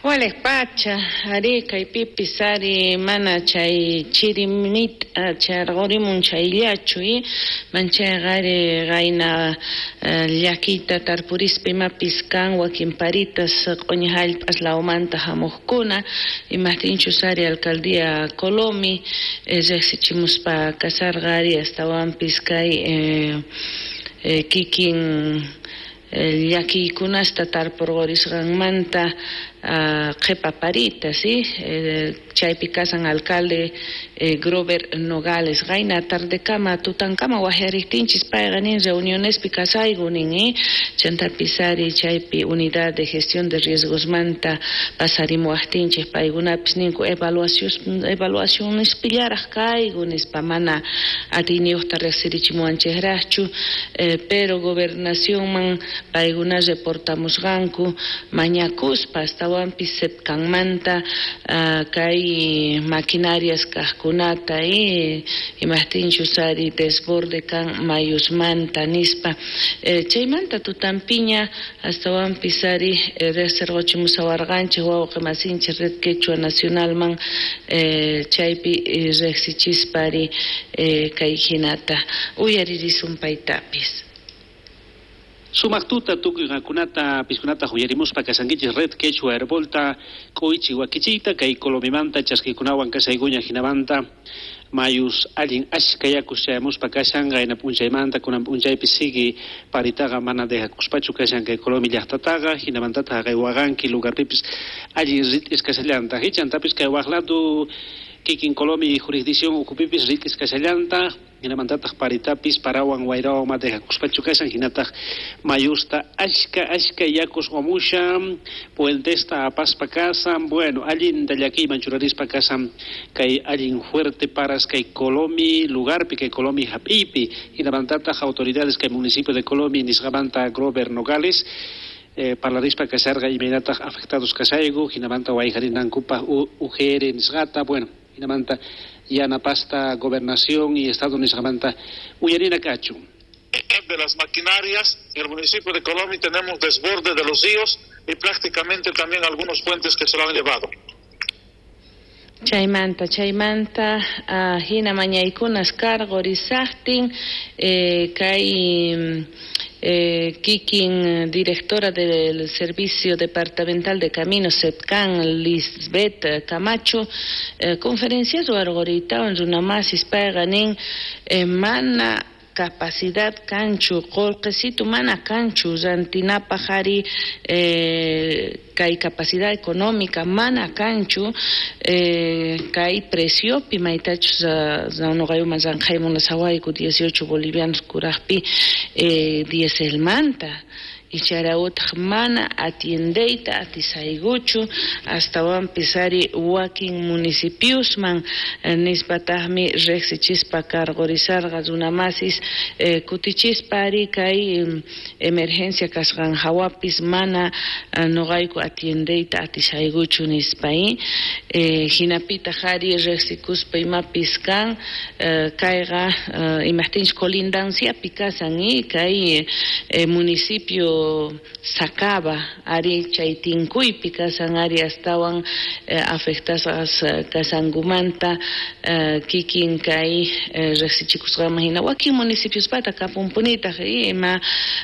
Walej pacha, ari kaypipis ari mana chay chirimit charqurimun chayllachu manchayqa ari qayna llakiyta tarpurispa imapis kan wakin paritas q'uñi hallp'as lawmanta hamuqkuna imaqtinchus ari alcaldía Colomi riqsichimuspa kasarqa ari astawanpis kay kikin llakiykunasta tarpurqurisqanmanta qhipa parita, ¿sí? Chaypi kasan alcalde Grover Nogales qayna tardekama tutankama waqyariqtinchis payqa nin reunionespi kasayku nin chantapis ari chaypi unidad de gestión de riesgosmanta pasarimuwaqtinchik paykunapis ninku evaluacionespillaraq kayku nispa mana atiyniyuqta riqsirichimuwanchikraqchu pero gobernacionman paykuna reportamusqanku mañakuspa astawanpis sepcanmanta kay maquinarias kaqkunata imaqtinchus ari desborde kan mayusmanta nispa chaymanta tutampiña astawanpis ari riqsirquchimusawarqanchik wawqi masinchik Red Quechua Nacionalman chaypi riqsichispa ari kay hinata uyaririsun paytapis. Sumaq tuta tukuy qankunata piskunata uyarimuspa kasankichis Red Quechua Herbolta k'uychi wakichiyta kay Colomimanta chaskikunawan kasaykuña hinamanta mayus allin ashka yakus chayamuspa kashan qayna p'unchaymanta kunan p'unchaypi sigui paritaqa mana dejakuspachu kashan kay Colomi llaqtataqa hinamantataq kay Waqanki lugarpipis allin rit'is kashallantaq chantapis kay waqladu kikin Colomi jurisdicción ukhupipis rit'is kashallantaq hinamantataq paritapis parawan wayrawan ma dejakuspachu kashan hinataq mayusta ashka ashka yakus wamushan puentesta apaspa kasan bueno allinta llakiyman churarispa kasan kay allin fuerte paras kay Colomi lugarpi kay Colomi hap'iypi hinamantataq autoridades kay municipio de Colomi nisqamanta Grover Nogales parlarispa kasharqa imaynataq afectados kasayku hinamanta wayjarinankupaq UGR nisqata bueno hinamanta yanapasta gobernación y estado nisqamanta uyarina kachun. De las maquinarias en el municipio de Colomi tenemos desborde de los ríos y prácticamente también algunos puentes que se lo han llevado. Chaymanta hina mañaykunas karqurisaqtin kay kikin directora del Servicio Departamental de Caminos SEPCAN Lisbeth Camacho conferencia ruwarquritawan runamasis payqa nin mana capacidad kanchu qullqisitu mana kanchu rantinapaq ari kay capacidad económica mana kanchu kay preciopi maytachus nuqayuman ranqaymunasawayku 18 bolivianos kuraqpi dieselmanta icharawtaq mana atiendeyta atisaykuchu astawanpis ari wakin municipiosman nispataqmi riqsichispa karqurisarqa runamasis kutichispa ari kay emergencia kasqan hawapis mana nuqayku atiendeyta atisaykuchu nispa hinapitaq ari riqsikuspa imapis kan kayqa imaqtinchus colindanciapi kasan kay municipio Sacaba ari chay tinkuypi kasan ari astawan afectasqas kasankumanta kikin kay riqsichikusqanman hina wakin municipiospata kapunpunitaq ima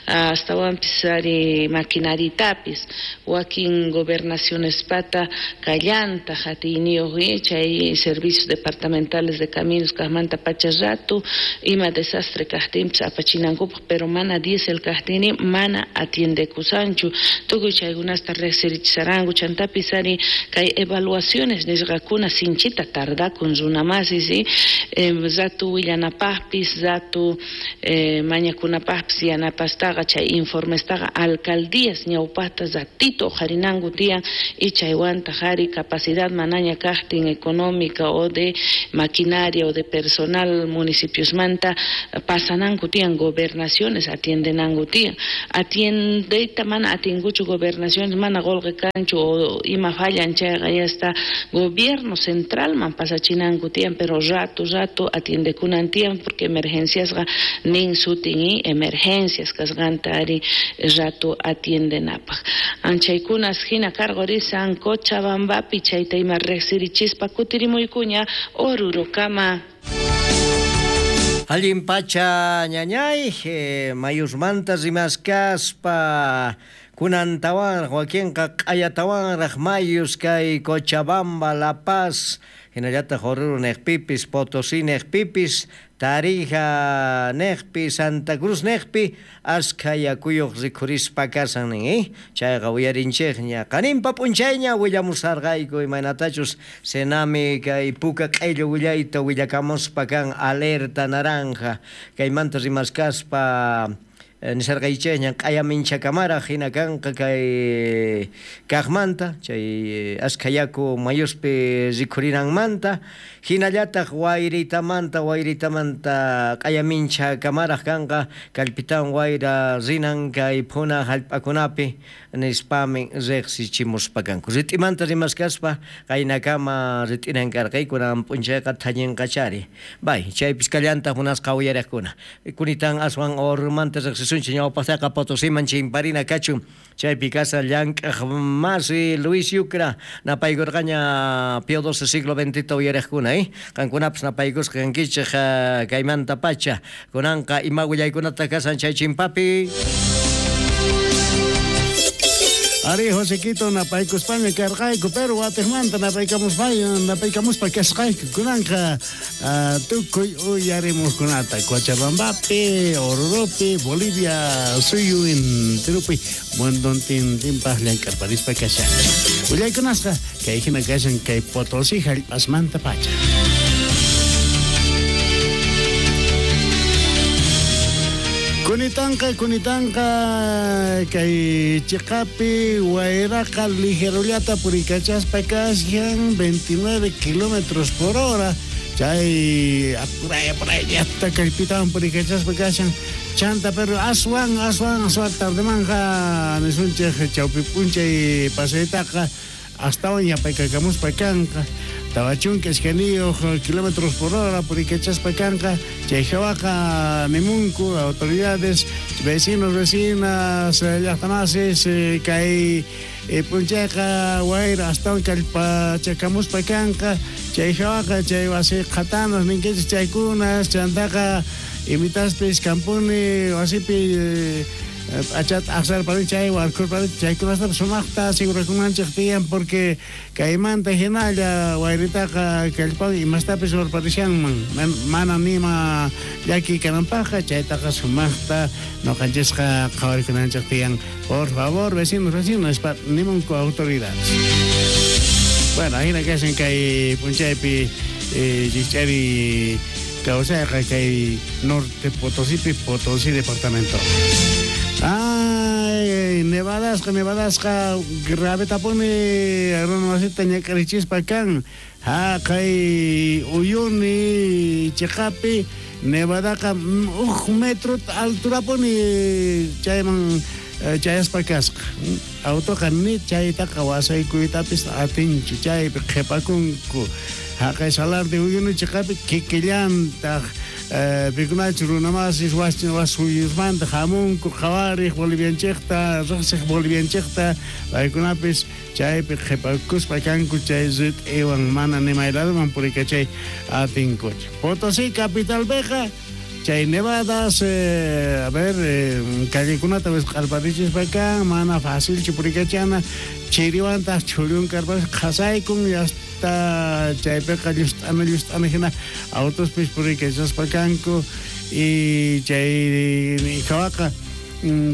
astawanpis ari maquinaritapis wakin gobernacionespata kallantaq atiyniyuq chay servicios departamentales de caminos kaqmanta pacha ratu ima desastre kaqtinpis apachinankupaq pero mana diesel kaqtini mana atiendekusanchu tukuy chaykunasta riqsirichisaranku chantapis ari kay evaluaciones nisqakuna sinchita tardakun runamasis ratu willanapaqpis ratu mañakunapaqpis yanapastaqa chay informestaqa alcaldías ñawpaqta ratito uqharinanku tiyan y chaywantaq ari capacidad manaña kaqtin económica o de maquinaria o de personal municipiosmanta pasananku tiyan gobernaciones atiendenanku tiyan Atiendeyta mana atinkuchu gobernaciones, mana qolqe kanchu o ima fallan chayqa ya está gobierno centralman pasachinanku tiyan, pero rato rato atiendekunan tiyan porque emergenciasqa nin sutin y emergencias kasqanta ari rato atiendenapaq. Anchaykunas hina karqorisan Cochabambapi chayta ima riqsirichispa kutirimuykuña Orurokama. Allin pacha ñañay, mayusmanta rimaskaspa kunantawanraq wakinqa q'ayatawanraq mayus kay Cochabamba, La Paz, hinallataq Oruro niqpipis, Potosí niqpipis, Tarija niqpi, Santa Cruz niqpi, askha yakuyuq rikhurispa kasan nin, Chayqa uyarinchikña, qaninpa p'unchayña willamusarqayku imaynatachus Senami kay puka q'illu willayta willakamuspa kan alerta naranja, kaymanta rimaskaspa nisarqaychikña q'ayaminchakamaraq hina kanqa kay kaqmanta chay askha yaku mayuspi rikhurinanmanta hinallataq wayritamanta q'ayaminchakamaraq kanqa kallpitawan wayra rinan kay phuna hallp'akunapi nispami riqsichimuspa kanku. Rit'imanta rimaskaspa qaynakama rit'inan karqayku kunan p'unchayqa thañinqachari. Bay, chaypis kallantaq munasqa uyariqkuna. Kunitan aswan Orurumanta riqsisunchik ñawpaqtaqa Potosiman chimparina kachun chaypi kasa llank'aq masi Luis Yucra napaykurqaña Pío XII siglo XX uyariqkuna, Qankunapas napaykusqa kankichik kaymanta pacha. Kunanqa ima willaykunata kasan chay chimpapi. Ari Josequito napaykuspaña karqayku, pero watiqmanta napaykamuspa kasqayku kunanqa tukuy uyarimuqkunata Cochabambapi, Oruropi, Bolivia suyu enteropi mundontintinpaq llank'arparispa kashan. Willaykunasqa kay hina kashan kay Potosí hallp'asmanta pacha. Kunitanqa kay chiqapi wayraqa ligerullata purikachaspa kashan 29 kilómetros por hora chay apurayata kallpitawan purikachaspa kashan chanta, pero aswan tardemanja nisunchik chawpi p'unchay pasaytaqa astawan yapaykakamuspa kanqa 42 kilómetros por hora purikachaspa kanqa chay hawaqa nimunku autoridades, vecinos, vecinas, llaqtamasis kay p'unchayqa wayra astawan kallpachakamuspa kanqa chay hawaqa chay wasi qhatanas ninkichik chaykunas chantaqa imitaspis kampuni wasipi p'achata aqsarpani chay warkurpani chaykunastapas sumaqta sigurakunanchik tiyan porque kaymanta hinalla wayritaqa kallpan imastapis warparishanman mana nima llaki kananpaqqa chaytaqa sumaqta ñuqanchisqa qhawarikunanchik tiyan. Por favor, vecinos, vecinas, nimunku autoridades. Bueno, ahina kashan kay p'unchaypi chich'ari kawsayqa kay Norte Potosípi, Potosí departamento. Ay, nevadasqa gravetapuni runamasita ñak'arichispa kan haqay Uyuni chiqapi nevadaqa 1 metro alturapuni chayman chayaspa kasqa. Autoqa ni chaytaqa wasaykuytapis atinchu chaypi qhipakunku. Haqay Salar de Uyuni chiqapi kikillantaq pikunachu runamasis wasuyusmanta hamunku qhawariq bolivianchikta riqsiq bolivianchikta paykunapis chaypi qhipakuspa kanku chay rit'iwan mana nimayladuman purikachay atinkuchu. Potosí capitalpiqa chay nevadas a ver callekunata wisq'arparichispa kan mana facilchu purikachana chiriwantaq chhullun karparis qhasaykun hasta chaypiqa llust'ana hina autospis purikachaspa kanku y chay hawaqa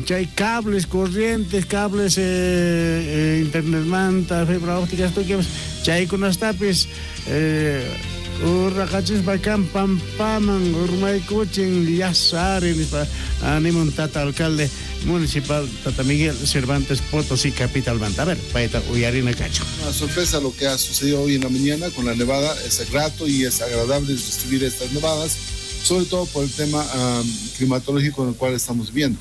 chay cables corrientes, cables internetmanta, fibra óptica tukuypas chaykunastapis urraqachispa kan pampaman urmaykuchin llasari nispa animun tata alcalde municipal Tata Miguel Cervantes Potosí capitalmanta. A ver, payta uyarina kachu. Una sorpresa lo que ha sucedido hoy en la mañana con la nevada. Es grato y es agradable recibir estas nevadas, sobre todo por el tema climatológico en el cual estamos viviendo.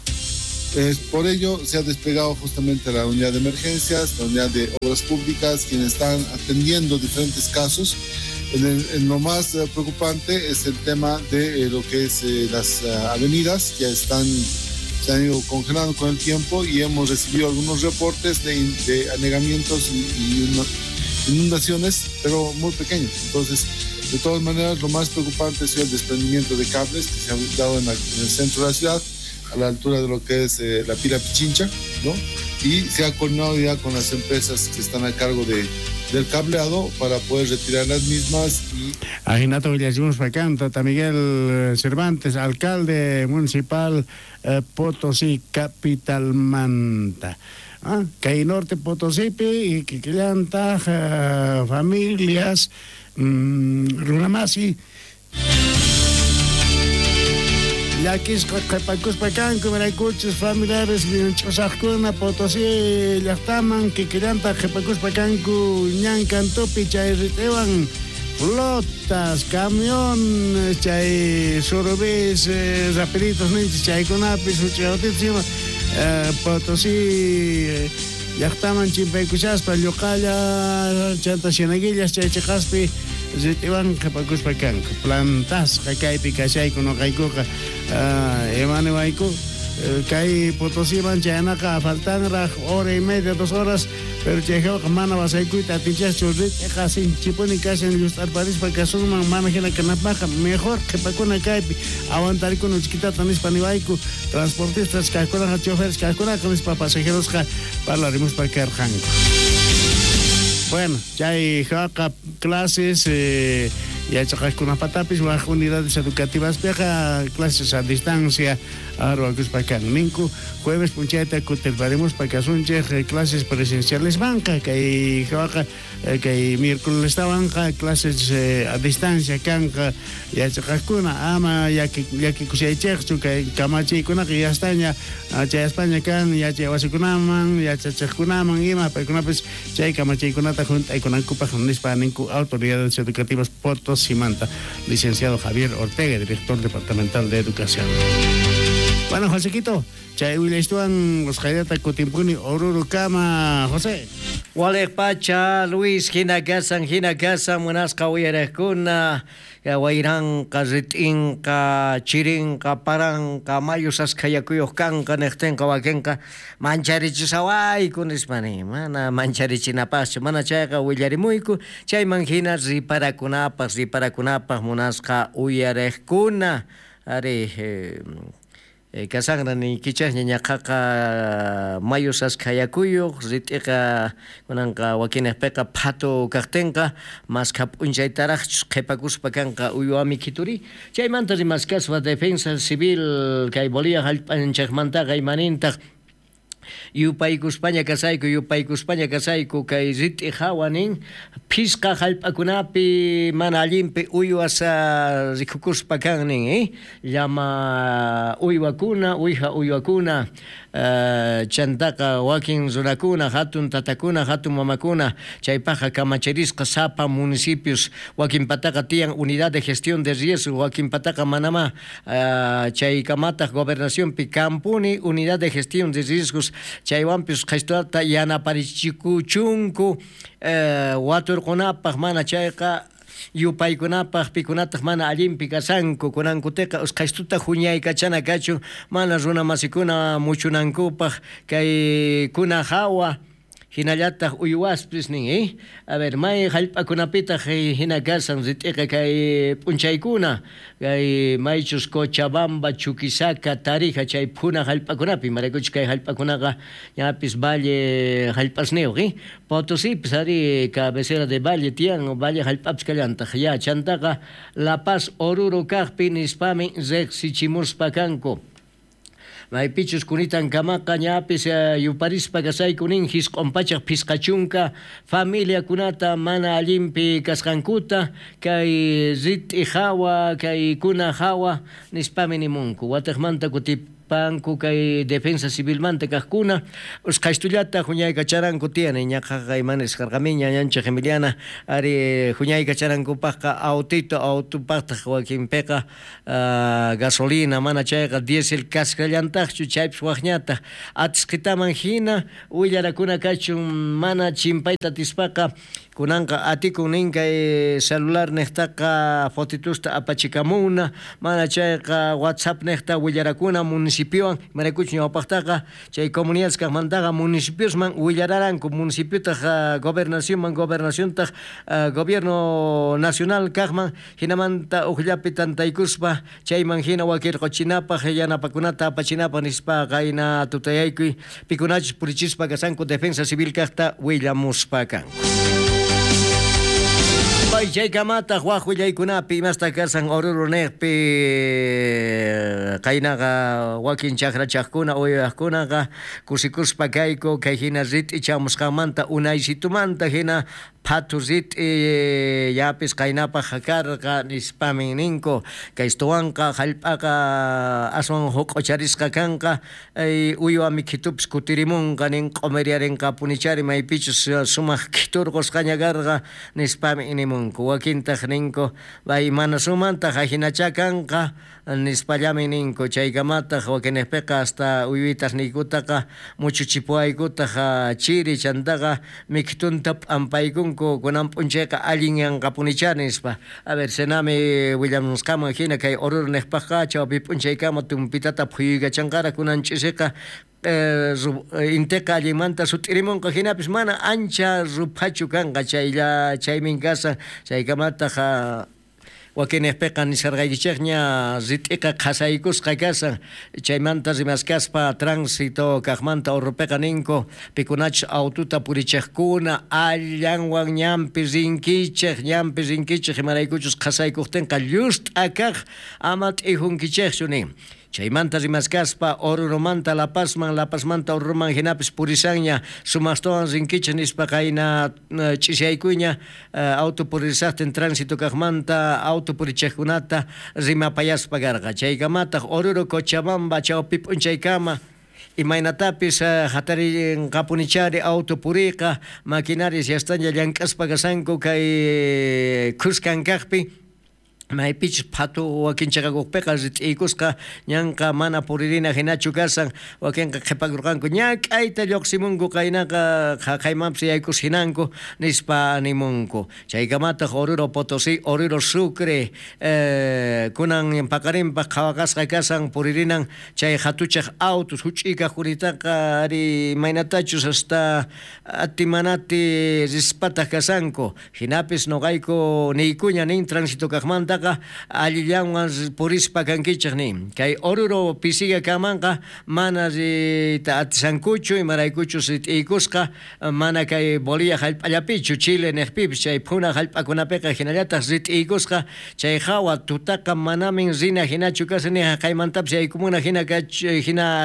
Por ello se ha desplegado justamente la unidad de emergencias, la unidad de obras públicas, quienes están atendiendo diferentes casos. En lo más preocupante es el tema de lo que es las avenidas, que se han ido congelando con el tiempo, y hemos recibido algunos reportes de anegamientos y inundaciones, pero muy pequeños. Entonces, de todas maneras, lo más preocupante ha sido el desprendimiento de cables que se ha dado en el centro de la ciudad, a la altura de lo que es la Pila Pichincha, ¿no? Y se ha coordinado ya con las empresas que están a cargo del cableado para poder retirar las mismas. Y Ajinata willasimuspa Tata Miguel Cervantes, alcalde municipal Potosí capital manta. Kay Norte Potosípi y kikillantaq familias runamasi llakisqa qhipakuspa kanku, imaraykuchus familiares ch'usaqkuna Potosí llaqtaman kikillantaq qhipakuspa kanku ñan kantupi chay rit'iwan flotas, camiones, chay surubis, rapiditos ninchis chaykunapis huch'uyawtitos ima Potosí llaqtaman chimpaykushaspa lluqalla chanta Cieneguillas chay chiqaspi rit'iwan qhipakuspa kanku. Plantasqa kaypi kashayku nuqaykuqa imaniwayku kay Potosíman chayanaqa faltanraq hora y media, 2 horas, pero chayjawqa mana wasaykuyta atinchaschu rit'iqa sinchipuni kashan llust'arparispa kasunman mana hina kanapaqqa mejor qhipakuna kaypi aguantarikuna uchkitata nispa niwayku transportistas kaqkunaqa choferes kaqkunaqa nispa pasajerosqa parlarimuspa karqanku. Bueno, chay hawaqa clases yachaqaqkunapatapis waj unidades educativaspiqa clases a distancia arwakuspa kan ninku jueves p'unchayta kutirparimuspa kasunchej clases presenciales manqa kay hawaqa kay miércoles tawanqa clases a distancia kanqa yachaqaqkuna ama llakikushaychejchu kay kamachiykunaqa yastaña chayaspaña kan yachay wasikunaman yachachiqkunaman ima paykunapis chay kamachiykunata junt'aykunankupaq nispa ninku autoridades educativas Potosímanta. Licenciado Javier Ortega, director departamental de Educación. Bueno, Josequito, chay willaystuwan usqhaylata kutimpuni Oruro kama, José. Waliq pacha, Luis, hina kasan, munasqa uyariqkuna, wayranqa, rit'inqa, chirinqa, paranqa, mayu saskhayakuyuq kanqa, niqtinqa wakinqa mancharichisawayku nispa nin. Mana mancharichinapaqchu, mana chayqa willarimuyku, chayman hina riparakunapaq munasqa uyariqkuna. Ari, kasanra niykichaqña ñaqaqa mayu saskhayakuyuq rit'iqa kunanqa wakinaqpiqa phatu kaqtinqa maskha p'unchaytaraqchus qhipakuspa kanqa uywami kituri. Chaymanta rimaskaspa Defensa Civil kay Bolivia hallp'anchaqmantaqa imanintaq yupaykuspaña kasayku kay rit'i hawa nin phisqa hallp'akunapi mana allinpi uywas rikukuspa kan nin llama uywakuna, uwiha uywakuna chantaqa wakin runakuna, hatun tatakuna, hatun mamakuna chaypaqqa kamachirisqa sapa municipios wakinpataqa tiyan unidad de gestión de riesgo wakinpataqa manama chaykamataq gobernacionpi kampuni unidad de gestión de riesgos chaywanpis qhistata yanaparichikuchunku waturqunapaq mana chayqa yupaykunapaq pikunataq mana allinpi kasanku kunankutiqa usqhaystuta huñaykachana kachun mana runamasikuna muchunankupaq kay kuna hawa hinallataq uywaspis nin a ver may hallp'akunapitaq hina kasan rit'iqa kay p'unchaykuna kay maychus Cochabamba, Chuquisaca, Tarija chay phuna hallp'akunapi imaraykuchus kay hallp'akunaqa ñapis valle hallp'asniyuq Potosípis ari cabecera de valle tiyan valle hallp'apis kallantaq ya chantaqa La Paz Oruro kaqpi nispami riqsichimuspa kanku. Maypichus kunitan kamaqa ñapis yuparispa kasayku nin hisq'un pachaq phisqachunka familiakunata mana allinpi kasqankuta kay rit'i hawa kay kuna hawa nispami nimunku wataqmanta Panku kay defensa civilmanta kaqkuna usqhaystullata huñaykacharanku tiyani ñaqaqa ima nisqarqamiña ñanchik Emiliana ari huñaykacharankupaqqa autito autopaqtaq wakinpiqa gasolina mana chayqa diésel kasqallantaqchu chaypis waqñataq atisqitaman hina willarakuna kachun mana chimpayta atispaqa kunanqa atikun nin kay celular niqtaqa fotitusta apachikamuna mana chayqa WhatsApp niqta willarakuna municipiowan imaraykuchus ñawpaqtaqa chay comunidades kaqmantaqa municipiosman willararanku municipiotaq gobernacionman gobernaciontaq gobierno nacional kaqman hinamanta uqllapi tantaykuspa chayman hina wakirquchinapaq yanapakunata apachinapaq nispa qayna tutayaykuy pikunachus purichispa kasanku defensa civil kaqta willamuspa kanku. Chaykamataq waq willaykunapi imasta kasan Oruro niqpi qaynaqa wakin chakrachaqkuna uywaqkunaqa kusikuspa kayku kay hina rit'i chamusqanmanta unaysitumanta hina phatu rit'i yapis qaynapaq karqa nispamin ninku kaystuwanqa hallp'aqa aswan huq'ucharisqa kanqa uywa mikhitupis kutirimunqa nin q'umiriarinqapunichari maypichus sumaq khiturqusqaña karqa nispami nimunku wakintaq ninku bay mana sumantaq ajinacha kanqa nispallami ninku chaykamataq wakinniqpiqa hasta uywitas niykutaqa muchuchipuwaykutaq chiri chantaqa mikhitunta p'ampaykunku kunan p'unchayqa allin yanqapunicha nispa. A ver, senami willamusqaman hina kay Oruro niqpaqqa chawpi p'unchaykama tumpitata phuyuykachanqara kunan ch'isiqa inteqa allinmanta sut'irimunqa hinapis mana ancha ruphachu kanqa chaylla chaymin kasan chaykamataq wakinniqpiqa nisharqaykichikña rit'iqa qhasaykusqa kasan chaymanta rimaskaspa tránsito kaqmanta Oruropiqa ninku pikunachus aututa purichiqkuna allanwan ñanpi rinkichik imaraykuchus qhasaykuqtinqa llust'a kaq ama t'ijunkichikchu nin. Chaymanta rimaskaspa Oruromanta La Pazman, La Pazmanta Oruroman hinapis purisanña sumaqtawan rinkichik nispa qayna ch'isyaykuyña auto purisaqtin tránsito kaqmanta auto purichiqkunata rimapayaspa karqa. Chaykamataq Oruro Cochabamba chawpi p'unchaykama imaynatapis hatarinqapunichari auto puriqa maquinarias yastaña llank'aspa kasanku kay khuskan kaqpi maypichus phatu wakin chaqakuqpiqa rit'iykusqa ñanqa mana puririna hinachu kasan wakinqa qhipakurqanku ñak'ayta lluqsimunku qaynaqa qhaqhaymanpis yaykus hinanku nispa nimunku. Chaykamataq Oruro Potosí, Oruro Sucre kunan paqarinpaq qhawaqasqa kasan puririnan chay hatuchaq autos huch'ikaq kuritaqa ari maynatachus hasta atimanati rispataq kasanku hinapis nuqayku niykuña nin tránsito kaqmanta allillanwan purispa kankichik nin. Kay Oruro pisiga kamanqa mana riyta atisankuchu imaraykuchus rit'iykusqa mana kay Bolivia hallp'allapichu Chile niqpipis chay phuna hallp'akunapiqa hinallataq rit'iykusqa chay hawa tutaqa manamin rina hinachu kasan ni haqaymantapis yaykumuna hina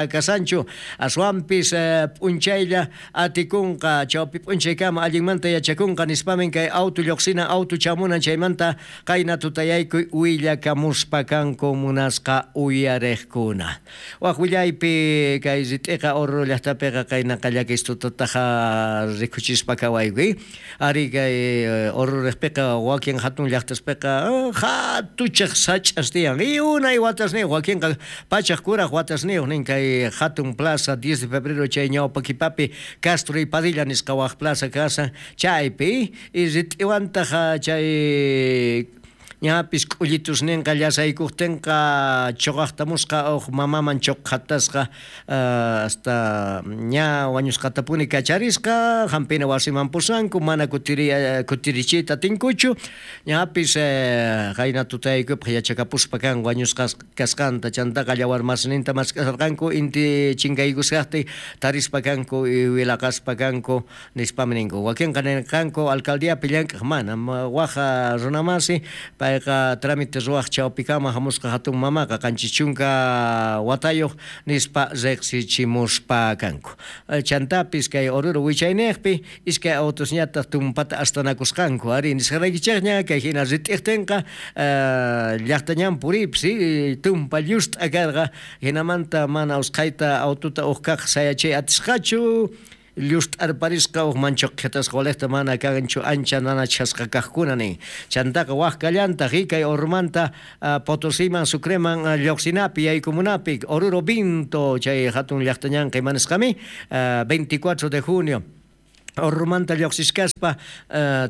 kasanchu aswanpis p'unchaylla atikunqa chawpi p'unchaykama allinmanta yachakunqa nispamin kay auto lluqsinan auto chamunan chaymanta qayna tutayay willakamuspa kanku munasqa uyariqkuna. Waq willaypi kay rit'iqa Oruro llaqtapiqa qaynaqa llakistutataqa rikuchispa kawaykuy. Ari kay Oruro riqpiqa wakin hatun llaqtaspiqa hatuchaq sach'as tiyan. Y unay watasniyuq wakinqa pachaq kuraq watasniyuq nin kay hatun plaza 10 de febrero chay ñawpa kipapi Castro y Padilla nisqa waq plaza kasan chaypi y rit'iwantaq chay ñapis k'ullitusninqa llasaykuqtinqa chuqaqtamusqa uq mamaman chuqhatasqa hasta ña wañusqatapuni kacharisqa hampina wasiman pusanku mana kutirichiyta atinkuchu ñapis qayna tutayaykupaq yachakapuspa kan wañusqa kasqanta chantaqa llawarmasninta mask'asarqanku inti chinkaykusqaqtin tarispa kanku wilaqaspa kanku nispami ninku wakinqa nirqanku alcaldiapi llank'aq mana waq runamasi Payqa trámite ruwaj chawpikama hamusqa hatun mamaqa 70 watayuq nispa riqsichimuspa kanku. Chantapis kay Oruro wichayniqpi iskay autosñataq tumpata astanakusqanku. Ari nisqaraykichikña kay hina rit'iqtinqa llaqta ñan puripis tumpa llust'a karqa, hinamanta mana usqhayta autota uj kaq sayachay atisqachu, llust'arparisqa uj manchuqhitasqa waliqta mana kanchu ancha nanachasqa kaqkuna nin. Chantaqa waj kallantaq kay Orurumanta Potosiman Sucreman lluqsinapi yaykumunapi Oruro Vinto chay hatun llaqta ñanqa imanisqami 24 de junio Orurumanta lluqsishkaspa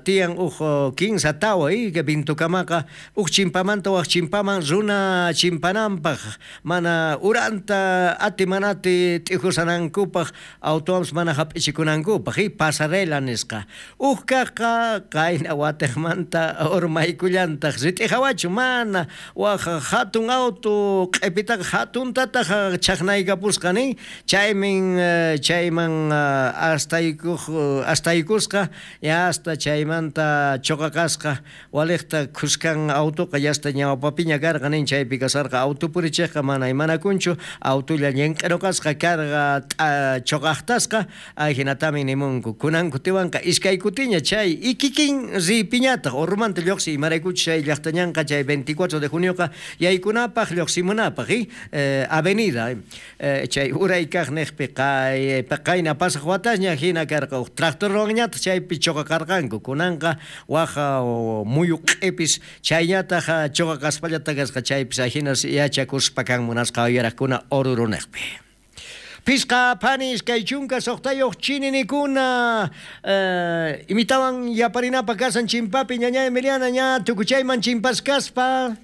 tiyan uj 15 tawa Vintokamaqa uj chimpamanta waj chimpaman runa chimpananpaq mana uranta ati manati t'ijusanankupaq autoampis mana hap'ichikunankupaq pasarela nisqa. Uj kaqqa qayna watiqmanta urmaykullantaq rit'ijawachu mana waj hatun auto q'ipitaqa hatuntataq chaqnaykapusqa nin chaymin chayman astaykusqa ya hasta chaymanta choqaqasqa waliqta khuskan autoqa yasta ñawpapiña karqa nin chaypi kasarqa auto purichiqqa mana imanakunchu autolla ñinq'iruqasqa karqa choqaqtasqa ajinatami nimunku kunan kutiwanqa iskay kutiña chay ikikin riypiñataq Orurumanta lluqsi imaraykuchus chay llaqta ñanqa chay 24 de junioqa yaykunapaq lluqsimunapaq avenida chay uray kaq niqpi qayna pasaq watasña hina karqa uj tractorwanñataq chaypi choqaqarqanku kunanqa waj muyu q'ipis chayñataq choqaqaspallata kasqa chaypis ajinas yachakuspa kan munasqa uyaraqkuna Oruruniqpi. Pisqa phani 26 chininikuna imitawan yaparinapa kasan chimpapi ñaña Emiliana ña tukuchayman chimpaskaspa.